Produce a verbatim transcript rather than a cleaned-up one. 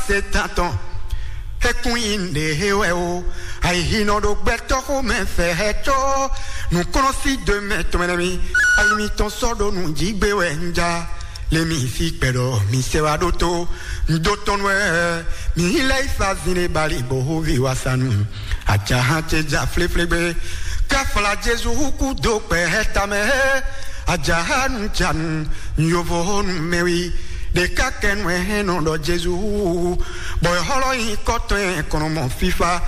Satan tɔn. Ekun yi nɖe he wɛ o. Ayihi nɔ ɖo gbɛtɔ́ xomɛ fɛ hɛ có. Nǔkplɔ́n sí do mɛ tɔn mɛ nɛ mi. Ayi mitɔn sɔ́ ɖo nǔ jí gbé wɛ un ja. Le mi sí kpɛɖɔ mi sɛ wá ɖótó. Un dó tɔn wɛ. Mi yi lɛ yi fa zin ɖe bali bó hóvi wá sa nu. Ajahan ce ja fléflé gbé. Káfla Jezu hú kú dó kpɛ hɛ tamɛ hɛ. Ajahanu janu. Yovo honu mɛ wi. Ɖeka kɛnu hɛn nɔ ɖɔ Jezu wu. Bɔ e hɔlɔ nyi kɔtɔn e kɔnɔ mɔ fifa.